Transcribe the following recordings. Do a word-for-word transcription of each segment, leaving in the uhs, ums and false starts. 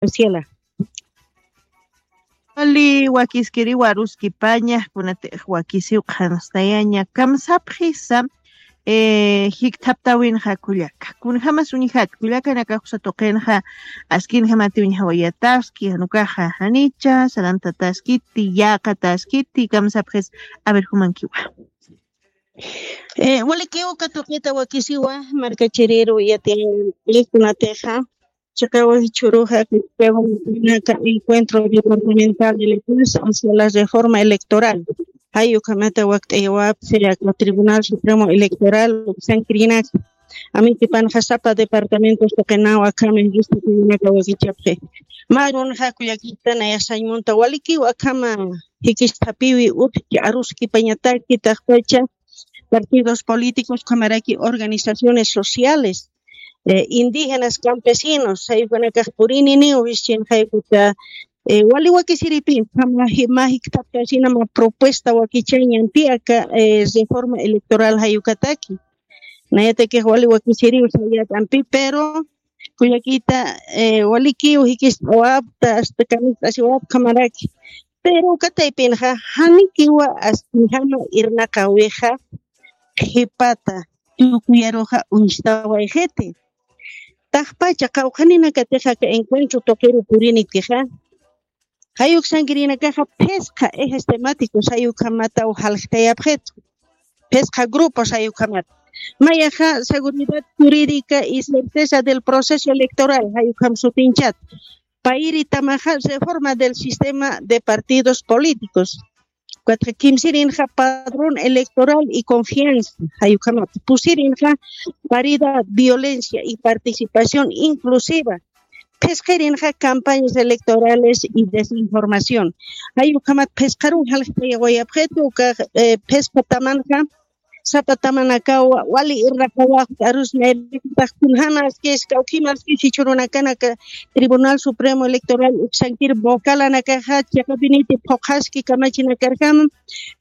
Graciela. Wali wakiskiriwa aruskipaña, kunatix wakisiw qhanstayaña, kamsapxisa, eh, jikthaptawinxa kullaka. Kunjamas uñjat, kullakanakaxsa tuqinxa, askinjamati uñjawayataski, janukaxa janicha, sarantataskiti, yaqataskiti, kamsapxis, a ver, jumankiwa. Eh, walikiw katuqita wakisiwa, markachiriru yatiyan, kunatixa, chiqawa jichhüruxa, encuentro departamental de lectores hacia la reforma electoral. Jay ukhamata wakt'ayawapxi aka Tribunal Supremo Electoral, uksankirinaka. Amitipanxa sapa departamentos tuqinaw akhama jisk'atinaka wakichapxi. Mä arunxa kullakita nayax sañ munta walikiw akhama jikisthapiwi utji aruskipañataki taqpacha partidos políticos, ukhamaraki organizaciones sociales, eh, indígenas, campesinos, jay ukanakax purininiw, jischin jay uka, eh, wali wakisiripi, ukhama ji-, mä jikthaptasina mä propuesta wakichañampi aka, eh, reforma electoral jay ukataki. Nayatakix wali wakisiriw sayat'ampi, pero kullakita, eh, walikiw jikist'awapta, hasta kamikt'asiwapta ukhamaraki. Pero uka taypinxa, janikiwa askinjama irnaqawixa, qhipata, tukuyaruxa uñstawayxiti. Taqpacha qawqhaninakatixa aka encuentro tuqiru purinitixa, jay uksankirinakaxa phisqa ejes temáticos jay ukhamataw jalxtayapxitu. Phisqa grupos jay ukhamata. Mayaxa seguridad jurídica y certeza del proceso electoral, jay ukham sutinchata. Payri tamaxa reforma del sistema de partidos políticos. Ukatxa kimsirinxa padrón electoral y confianza, jay ukhamata. Pusirinxa paridad, violencia y participación inclusiva. Phisqirinxa campañas electorales y desinformación. Jay ukhamat phisqaruw jalxtayawayapxitu, uka, eh, phisqa tamanxa, sapa tamanakaw wali irnaqawapxta arus nayraqatax kunjamaskis, kawkhimaskis jichhürunakanaka Tribunal Supremo Electoral uksankir vocalanakaxa chiqapiniti phuqhaski kamachinakarkama,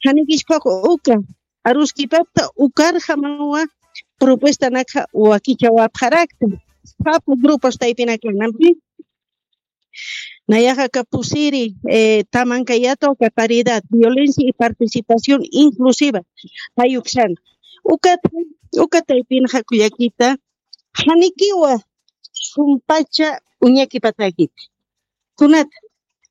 janikis phuq uka aruskipapta ukarjamawa propuestanakxa wakichawapxarakta. Sapa grupos taypinakanampi. Nayaxa aka pusiri, eh, tamankayata uka paridad, violencia y participación inclusiva. Jay uksan. Ukat, uka taypinxa kullakita, janikiwa sumpacha uñakipatakiti. Kunat,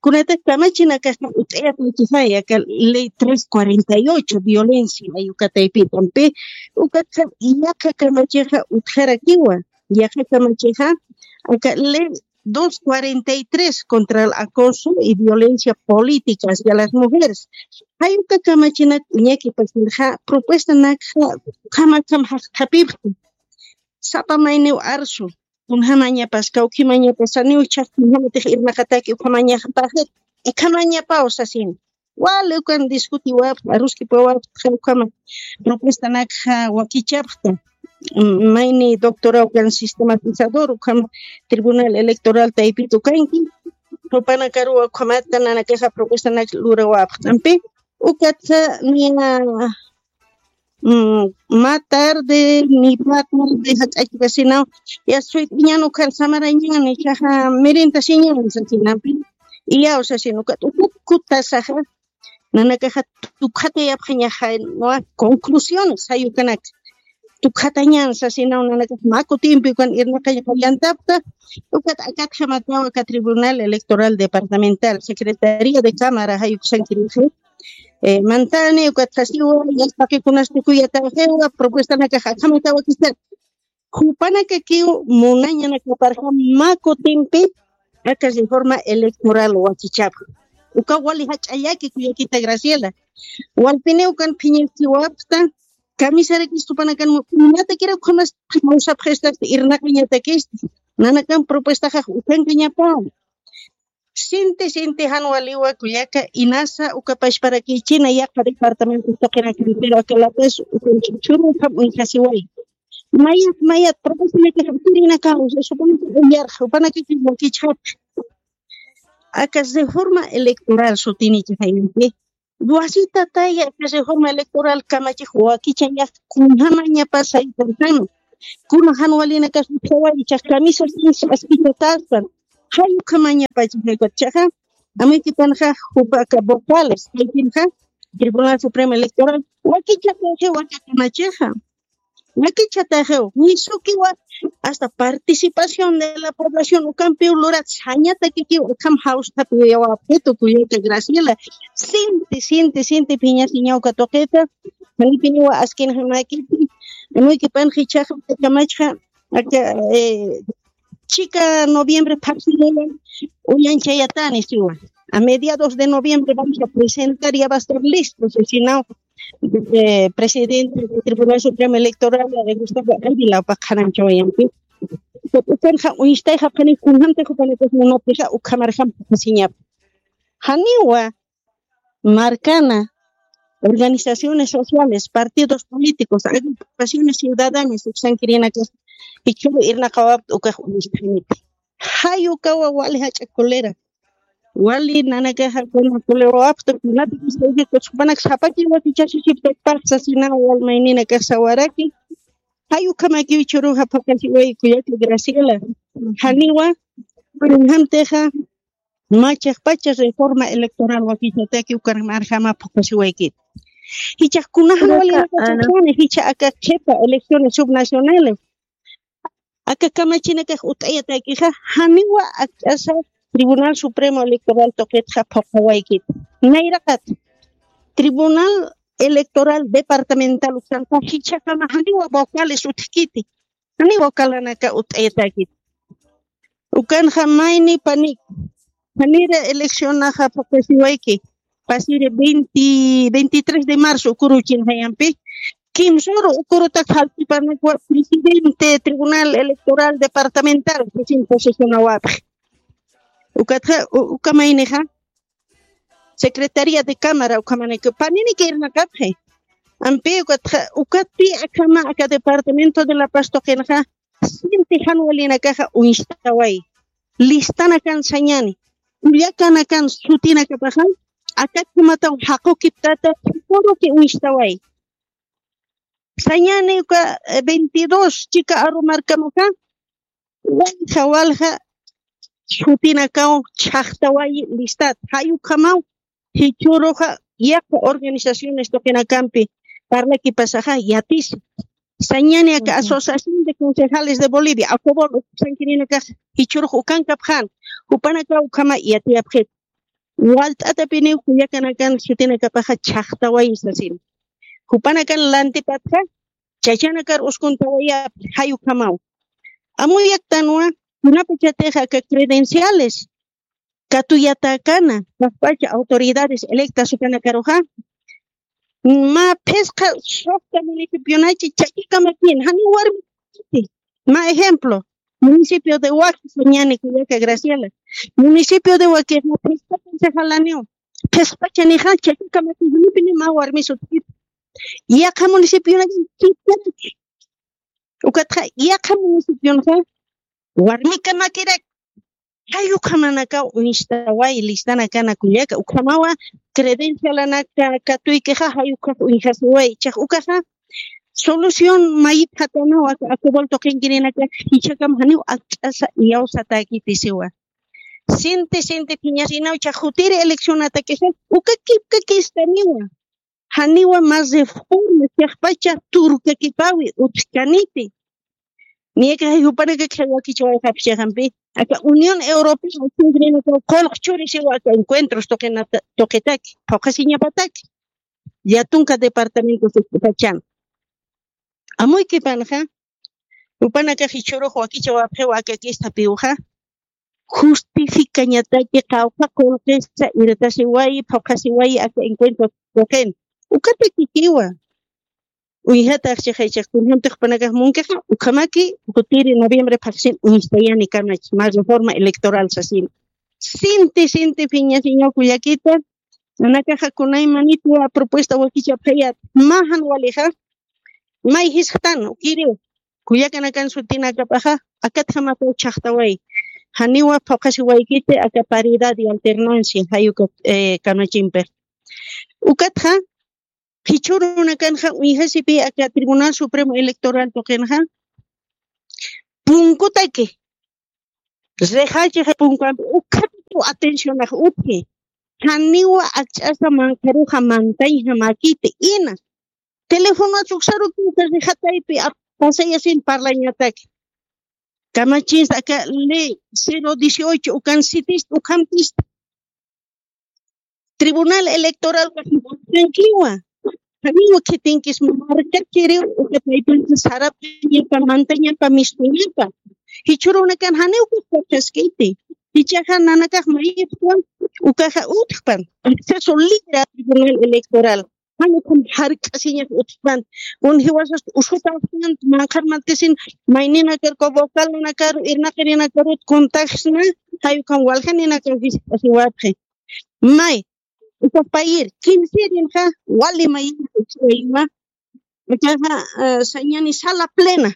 kunata kamachinakaxa ut'ayapakisay aka ley tres cuarenta y ocho, violencia, jay uka taypitampi, ukatxa yaqha kamachixa utjarakiwa, yaqha kamachixa, aka ley dos cuarenta y tres contra el acoso y violencia política hacia las mujeres. Jay uka kamachinak uñakipasirxa, propuestanakxa, ukhamakham jaqthapipxta. Sapa mayniw arsu, kunjamañapas, kawkhimañapas, saniw chhaqkiñjamatix irnaqataki ukhamañapaxit, ikhamañapaw sasin. Wali ukan discutiwapxta, aruskipawapxta, ukhama propuestanakxa wakichapxta. Mm, mayni doctora ukan sistematizador, ukhama Tribunal Electoral taypit ukanki, jupanakaruw ukhamata nanakaxa propuestanak lurawapxta. Ampi, ukatxa niya, mm, mä tarde, ni pä tarde, jak'achkasinaw, ya suyt'iñan ukan samarañan, ichaxa mirintasiñan sasinampi, iyaw sasin ukat, ukat kutasaxa, nanakaxa tukxatayapxañaxa, ¿no? Conclusiones, jay ukanak. Tukxatañan sasinaw nanakax mä kutimpi ukan irnaqañaxa yantapxta, ukat akatjamataw aka Tribunal Electoral Departamental, Secretaría de Cámara, jay uksankirixi. Eh, mantani, ukat sasiwa, yasta qikunas tukuyataxiwa, propuestanakax akhamataw wakisat. Jupanakakiw munañanakaparxa mä kutimpi aka reforma electoral wakichapxi. Uka wali jach'a llaki kullakita Graciela. Walpiniw kan phiñakiwapxta, kamisarakis jupanakan mu-, imatakira ukhamas kawsapxistasti irnaqañatakista. Nanakan propuestaxax ukankañapaw. Sinti, sinti jan waliwa kullaka, inasa uka pachparakichina yaqha departamento taqinakan, pero aka La Paz ukan ch'uch'uru ukham uñjasiway. Mayat, mayat, propuestanakax ukirinakaw, supanaka uyarxa, jupanakakiw wakichxapxi. Aka reforma electoral sutinichixayanti. Wasitataya aka reforma electoral kamachix wakichañax kunjamañapas sayparkama. Kuna jan walinakas utjaway, ichax kamisas askichataspan. Jay ukhamañapacha jaypachaxa, amuykipanxa jupa aka vocales, jaypinxa Tribunal Supremo Electoral, wakichakawji wakakamachixa. Wakichataxiw, nisukiwa hasta participación de la población ukampiw lurat sañatakikiw ukham jawsthapiwayawapxitu kuyaka Graciela. Sinti, sinti, sinti phiñasiñaw katuqita. Janipiniwa askinxamakiti. Amuykipanxa jichhaxa, kamachxa, aka, eh, chika noviembre phaxsiriwan uñanchayatani siwa. A mediados de noviembre vamos a presentar, ya va a estar listo, sasinaw, eh, presidente del Tribunal Supremo Electoral, eh, Gustavo Ávila, paqaranchawayampi. Ukanxa uñstayxapxani, kunjamtix jupanakax munapxixa, ukhamarjam phuqhasiñap. Janiwa markana, organizaciones sociales, partidos políticos, agrupaciones ciudadanas, uksankirinakas, jichhüru irnaqawapta ukax uñst'aniti. Jay ukawa wali jach'a cólera. Wali nanakaxa kuna colerawapta, kunatikus jupanak sapakiw wakichasisiptakpax sasinaw wal mayninakax sawaraki. Jay ukhamakiw jichhüruxa phuqhasiway kuyaka Graciela. Janiwa, kunjamtixa, mä chiqpacha reforma electoral wakichataki ukarjama phuqhasiwaykit. Jichhax kunajan wali, jichha aka qhipa elecciones subnacionales, aka kamachinakax ut'ayatakixa, janiwa akch'asa Tribunal Supremo Electoral tuqitxa phuqhawaykit. Nayraqat Tribunal Electoral Departamental uksanxa jichhakama janiwa vocales utjkiti. Janiwa vocalnaka ut'ayatakit. Ukanxa mayni panik. Janira eleccionaxa phuqhasiwayki. Pasiri veinte, veintitrés de marzo ukuru chinjayampi. Kimsuru ukurutak jaltipanakwa presidente Tribunal Electoral Departamental, presidente posicionawapxi. Ukatxa, u-, uka maynixa, Secretaría de Cámara, ukhamanaki, paniniki irnaqapxi. Ampi, ukatxa, ukatpi akhama aka Departamento de La Paz tuqinxa, sinti jan walinakaxa uñstaway. Listanakan sañani. Kullakanakan sutinakapaxa, akakhamataw jaqukiptata, jichhüruki uñstaway. Sañani uka, eh, veintidós chika aru markamaxa, walja, walja, sutinakaw chhaqtawayi listat. Jay ukhamaw, jichhüruxa, yaqha organizaciones tuqinakampi parlakipasaxa, yatisi. Sañani aka Asociación de Concejales de Bolivia, ACOBOL, uksankirinakax, jichhürux ukankapxän, jupanakaw ukhama yatiyapxit. Walt'atapiniw kullakanakan sutinakapaxa chhaqtawayi sasin. Jupanakan lantipatxa, chachanakar uskuntawayapxi, jay ukhamaw. Amuyaktanwa, kunapachatix aka credenciales katuyatäkana, pachpacha autoridades electas jupanakaruxa, mä phisqa suxta municipionachi chakikamakïn, janiw warmi. Mä ejemplo, municipio de Huaquis, sañani kullaka Graciela. Municipio de Huaquis, mä phisqa concejalaniw. Phisqpachanixa, chakikamakïn, janipini mä warmi sutkiti. Yaqha municipionakan chikiraki. Ukatxa, yaqha municipionxa, warmikamakirak. Jay ukhamanakaw uñstaway, listanakana kullaka, ukhamawa credencialanaka katuykixa, jay ukhax uñjasiway, jichhax ukaxa solución mayipxatanaw aka ACOBOL tuqinkirinakax, jichhakam janiw akch'asa iyawsatäkiti siwa. Sinti, sinti phiñasinaw, jichhax jutiri eleccionatakixa, uka kipka kistaniwa. Janiwa mä reforma, chiqpacha turkakipawi utjkaniti. Niyakax jupanakakixa wakichawayxapxi chiqampi. Aka Unión Europea, uksankirinakaw qullq churisiwa aka encuentros tuqinata-, tuqitaki, phuqhasiñapataki. Yatunka departamentos ukpachan. Amuykipanxa, jupanakax jichhürux wakichawapxiwa aka kisthapiwxa, justificañataki qawqha qullqisa irtasiwayi, phuqhasiwayi aka encuentro tuqin. Ukatakikiwa. Uñjatax chiqay chiq, kunjamtix jupanakax munkixa, ukhamaki, jutiri noviembre phaxsin uñstayani kamach, mä reforma electoral sasin. Sinti, sinti phiñasiñaw kullakita, nanakaxa kunaymanitwa propuesta wakichapxayät, mä jan walixa, may jisktän, ukiriw. Kullakanakan sutinakapaxa, akatjamataw chhaqtaway. Janiwa phuqhasiwaykiti aka paridad y alternancia, jay uka, eh, kamachimpix. Ukatxa, jichhürunakanxa, uñjasipi aka Tribunal Supremo Electoral tuqinxa, punkutaki, Rixachi jay punkampi ukhatitu atencionax utji. Janiwa akch'asa manqharuxa mantañjamäkiti ina. Telefonat uksaruki uka rixataypi pasayasin parlañataki. Kamachista aka ley cero dieciocho ukan sitista ukhamtista. Tribunal electoral wakiwa. Janiwa khitinkis markachiriw uka taypinta sarapañapa mantañapa mistuñapa. Jichhurunakan janiw kuskachaskiti. Jichaxa nanakax mayipwan ukaxa utjpan acceso libre a tribunal electoral. Jan ukham jark'asiñas utjpan. Kun jiwasas usutawstan manqharmantisin mayninakar vocalnakaru irnaqirinakarut kuntaxsna. Jay ukham waljaninakar jisk'asiwapxi. May uka payir kimsirinxa wali mayinxa uchiwayma. Ukaxa sañani sala plena.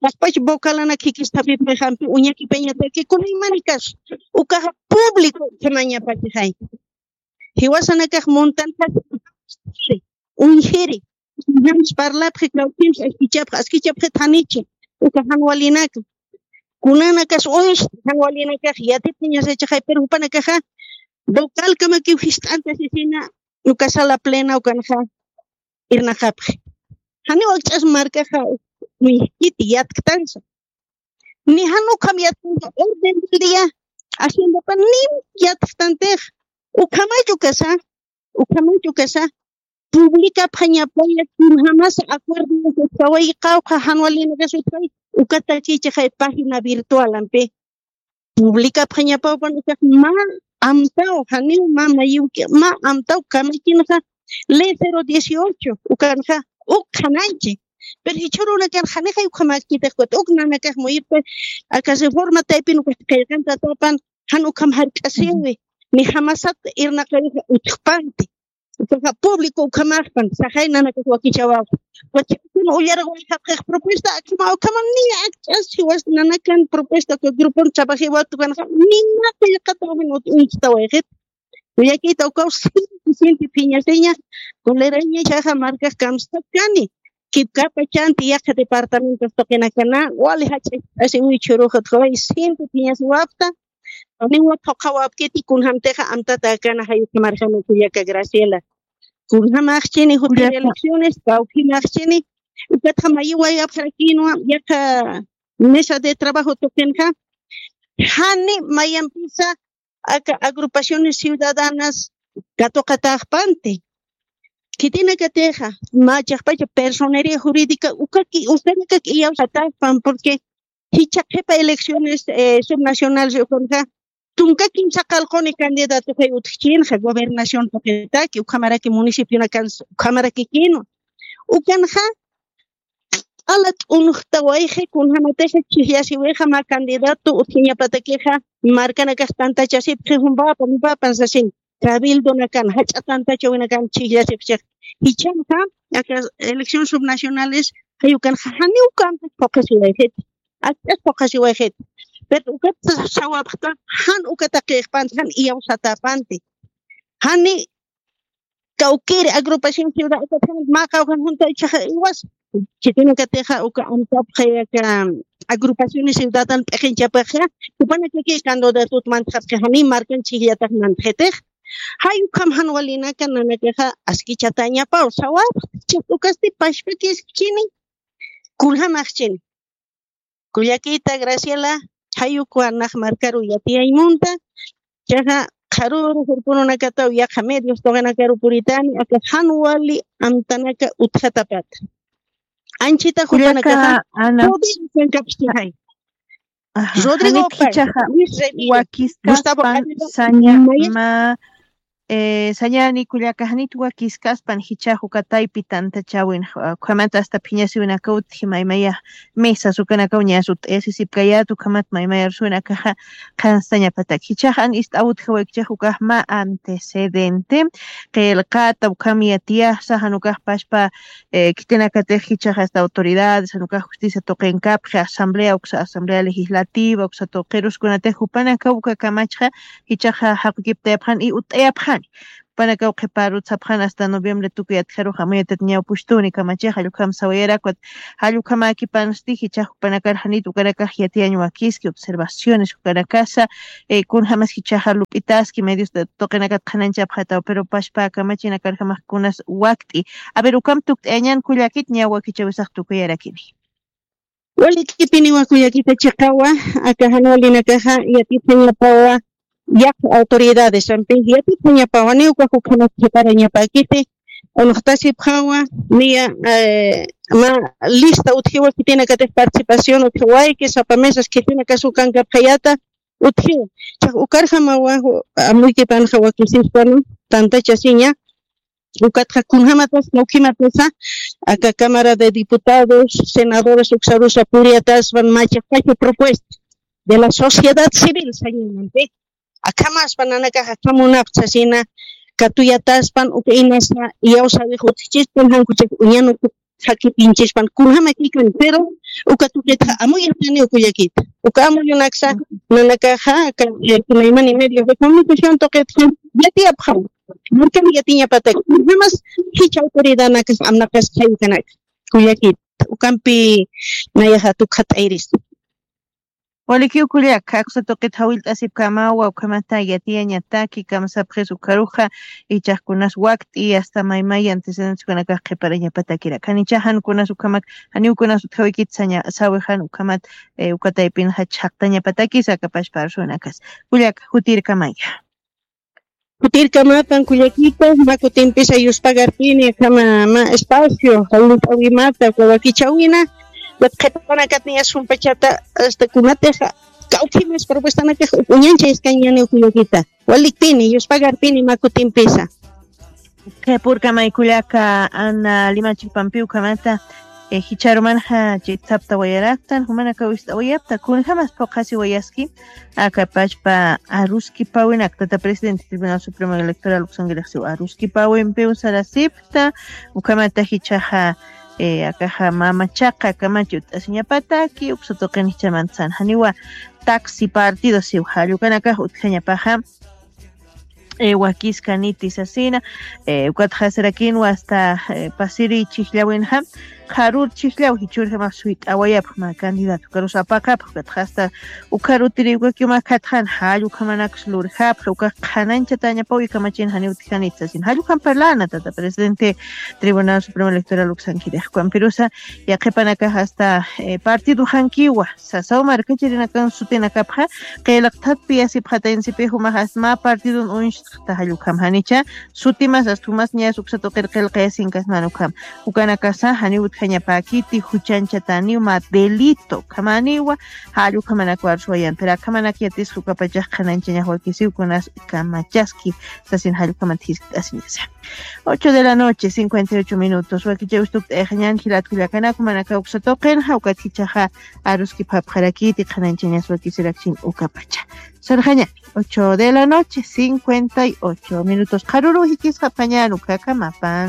Paspacha vocalana khikistapipixampi uñakipañataki kunaymanikas. Ukaxa público ukhamañapachixay. Jiwasanakax muntanxas uñjiri. Jams parlapxi kawkims askichapxa askichapxit janichi. Uka jan walinaka kunanakas uñs jan walinakax yatipxiñasachaxay pero jupanakaxa vocalkamakiw jist'antasisina. Uka sala plena ukanxa irnaqapxi. Janiw akch'as markaxa uñjkiti yatktansa. Ni jan ukham yatktansa orden del día haciendapa nim yatktantix. Ukhamach ukasa ukhamach ukasa publicapxañapaya kunjamasa acuerdo utjaway qawqha jan walinakas utjay. Ukatakichixay página virtualampi publicapxañapawpan ukax mä amtaw janiw mä mayiwki mä amtaw kamakinxa. Ley cero dieciocho ukanxa uk qhananchi. Pero jichhurunakan janixay ukhamäkitix ukat uk nanakax muyipxi aka reforma taypin ukat qillqantatapan jan ukham jark'asiwi. Ni jamasat irnaqawixa utjpanti. Ukaxa público ukhamaxpan saxay nanakax wakichawaw. Wachakuna ullarawayxapxix propuesta akhama ukhama ni akch'as jiwas nanakan propuesta uka grupon trabajiwat ukanxa nina qillqatawin uñchtawayxit. Uyakita ukaw sinti sinti phiñasiña. Coleraña chaxa markax kamstakani kipkapachanti yaqha departamentos tuqinakana wali jach'ach'asiwiy chhuruxutxaway sinti phiñasiwapta. Niwa phuqhawapkiti kunjamtixa amtatäkana jayukamarjani kullaka Graciela. Kunjamaxchini jutir elecciones kawkhimaxchini. Ukatxa mayiwayapxarakinwa yaqha mesa de trabajo tuqinxa. Jani mayampisa aka agrupaciones ciudadanas katuqataxpanti. Khitinakatixa mä chiqpacha personería jurídica ukaki ustanakak iyawsataxpan porque jichha qhipa elecciones subnacionales ukanxa tunka kimsa qalquni candidatoxay utjchinxa gobernación tuqitaki ukhamaraki municipionakan ukhamarakikinwa. Ukanxa q'ala t'unjtawayxi kunjamatixa chijyasiwixa mä candidato utjiñapatakixa markanakax tantachasipxi jumpapan jumpapan sasin cabildonakan jach'a tantachawinakan chijyasipxi. Jichhanxa aka elección subnacionales jayukanxa janiw kantach phuqhasiwayxit. Akch'as phuqhasiwayxit. Pero ukat sawapxta jan ukataqixpanti jan iyawsatäpanti. Jani kawkiri agrupación ciudad ukatxan mä qawqhan junta ichaxa iwas chitinakatixa uka amtapxay aka agrupaciones ciudadan p'iqinchapaxa jupanakaki candidatut mantxapxi jani markan chijllatax mantxitix. Jay ukham jan walinaka nanakaxa askichatañapaw sawapxta chaq ukasti pashpakiskchini. Kunjamaxchini kullakita Graciela. Jay ukwa nax markaru yatiyaymunta chaxa qharuru jurpununakataw yaqha medios tuqinakaru puritani aka jan wali amtanaka utjatapata. Anchita jupanakaxa Ana. Rodrigo kankapxchixay. Rodrigo Paz, Luis Remiro, Gustavo Ávila, saña Maya. Ma eh, sañani kullaka janit wakiskaspan jichhax uka taypi tantachawin ukhamat asta phiñasiwinaka utji maymaya mesas ukanakaw ñas ut'ayasisipkayät ukhamat maymaya rusuwinakaxa qhanstañapatak jichhax an ist'aw utjawaykichix ukax mä antecedente qillqata ukham yatiyasa jan ukax pashpa khitinakatix jichhax asta autoridades jan ukax justicia tuqinkapxi asamblea uksa asamblea legislativa uksa tuqirus kunatix jupanakaw uka kamachxa jichhaxa jaqukiptayapxani y ut'ayapxani. jupanakaw qhiparut sapxan hasta noviembre tukuy atjaruxa amuyatat ñawpuchtuni kamachixa jallukam sawayarakwat. Jallukamakipansti jichax jupanakar janit ukanakax yatiyañ wakiski observaciones ukanakasa. Kunjamas jichaxa lup'itaski medios tuqinakat qhananchapxataw pero pashpa kamachinakarjamax kunas wakt'i. A ver ukam tukt'ayañan kullakit ñaw wakichawisax tukuyarakini. Walikipiniwa kullakita chiqawa, aka jan walinakaxa yatithañapawa yaq autoridades ampi yatithañapawa niw ukax ukhamat qhiparañapakiti. Unuxtasipxawa niya ma lista utjiwa khitinakatix participación utjiwayki sapa mesas khitinakasu kankapxayata utjiwa. Chax ukarjamawa amuykipanxa wakisispanu tantachasiña. Ukatxa kunjamatas kawkhimatasa aka cámara de diputados, senadores uksarusa puriyataspan machaqachu propuesta de la sociedad civil sañanampi. Akhamaspa nanakaxa kamunapchasina katuyataspan uka inasa iyawsawix utjichispan jankuchak uñanuk jakitinchispan kunjamakikan pero uka tuqitxa amuyatani ukullakita uka amuyunaksa nanakaxa aka kunaymani medios de comunicación tuqitxa yatiyapxaw. Markan yatiñapatak kunjamas jicha autoridadnakas amnaqas jaykanaka kullakita ukampi nayaxa tukxat'ayrista. Walikiw kullaka aksa tuqit jawillt'asipkamawa ukhamata yatiyañataki kamsapxis ukaruxa ichaxkunas wakt'i asta maymay antecedenteskunakax qhiparañapatakirak janicha jankunas ukhamak janiwkunas utjawikit saña sawixan ukhamat. Ukataypinxa chhaqtañapatakis akapashpa arsunakas. Kullaka jutirkamaya. Jutirkamapan kullakita mä kutimpisa yuspagarpini akhama mä espacio jawint'awimata wakichawina. Qhipanakatniya sumpachata asta kunatixa kawkhimas propuestanakax uñancha iskañaniw kullakita. Walikpini yuspagarpini mä kutimpisa. Qhipurkamay kullaka ana limachipampiw ukhamata. Jicharumanxa chitsapta wayaraktan jumanakaw ist'awayapta kunjamas phuqhasiwayaski. Akapachpa aruskipawinak tata presidente tribunal supremo electoral uksankirixsiw aruskipawimpiw sarasipta. Ukhamata jichaxa akaxa mamachaqa kamachi ut'asiñapataki uksa tuqin jichamantasan janiwa taxi partido siw jallukanakax utjañapaxa. Wakiskaniti sasina. Ukatxasirakinwa asta pasiri chijllawinxa qharur chijllaw jichurjamax suyt'awayapxma candidato ukarus apaqapx ukatxasta. Ukharutiri ukakiw makhatxan jallukhamanakus lurjapxa ukax qhanañchatañapaw ikamachin janiw utjanit sasin jallukhamparlana tata presidente tribunal supremo electoral uksankirixkwan pirusa. Yaqhipanakax asta partidoxankiwa sasaw markachirinakan sutinakapxa qillqthatpi yasipxatayansipix umaxas mä partidon uñstxta jallukjam janicha sutimas asta umas ñas uksa tuqir qillqayasinkasman ukham. Ukanakasa janiw utjañapäkiti juchañchataniw mä delito ukhamaniwa. Jallukjamanakwa arsuwayan pero akhamanak yatisqa ukapachax qhanañchañax wakisiw kunas kamachaski sasin jallukjamat jiskt'asiñasa. Ocho de la noche cincuenta y ocho minutos wakichawis tukt'ayxañan jilat kullakanaka manaka uksa tuqinxa ukat jichaxa aruskipxapxarakiti qhanañchañas wakisirakchin ukapacha. Sarxañani ocho de la noche cincuenta y ocho minutos qharuru jikisxapxañan ukakamapan.